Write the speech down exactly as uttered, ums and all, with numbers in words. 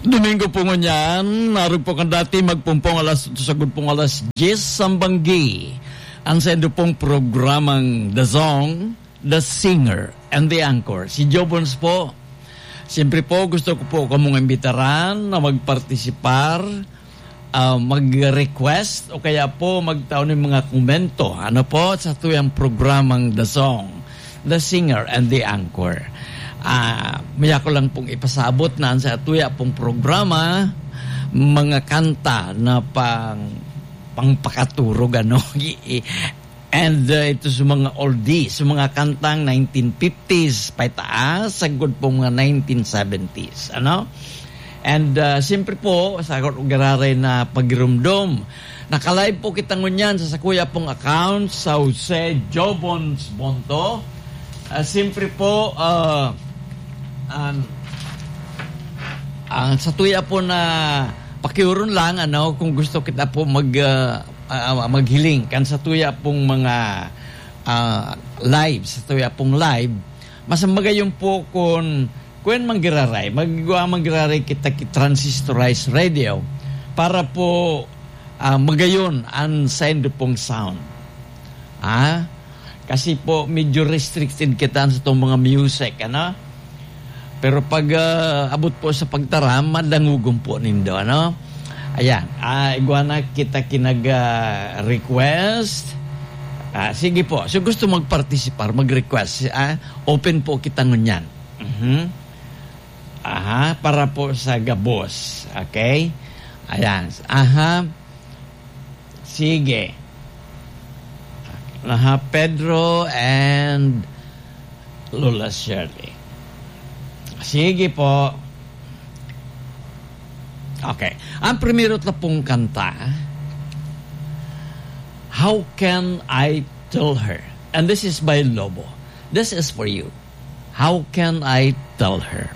Domingo po ngunyan, arog po kan dati, magpumpong alas, sagod pong alas diyes sambanggi. Ang sendo pong programang The Song, The Singer, and The Anchor. Si Jobons po. Siyempre po, gusto ko po kamong imbitaran na magpartisipar, ah, mag-request, o kaya po magtao ng mga komento. Ano po, sa tuyang programang The Song, The Singer, and The Anchor. Ah, maya ko lang pong ipasabot na ang sa tuya pong programa, mga kanta na pang, pangpakaturog, ano, and, uh, ito sa mga oldies, sa mga kantang nineteen fifties, paitaas, sagod po mga nineteen seventies, ano? And, uh, siyempre po, sa giraray na pagirumdom, nakalive po kita ngunyan sa sakuya pong account, sa Jose Jobons Bonto. Ah, siyempre po, ah, an-, ang sa tuya po na pakiuron lang, ano, kung gusto kita po mag, ah, ah, maghiling kan sa tuya pong mga, ah, live, sa tuya pong live, mas magayon po kung, kung manggiraray, magwa manggiraray kita ki transistorized radio para po, ah, magayon ang sendo pong sound. Ah, kasi po medyo restricted kita sa itong mga music, ano? Pero pag, ah, abot po sa pagtaram, madangugon po nindo, ano? Ayan, ah, igwa na kita kinag, ah, request. Ah, sige po, so gusto magpartisipar, mag-request, ah, open po kita ngunyan. Mhm. Aha, para po sa gabos. Okay? Ayan. Aha. Sige. Aha, Pedro and Lola Shirley. Sige po. Okay. Ang primero ta pong kanta, How Can I Tell Her? And this is by Lobo. This is for you. How Can I Tell Her?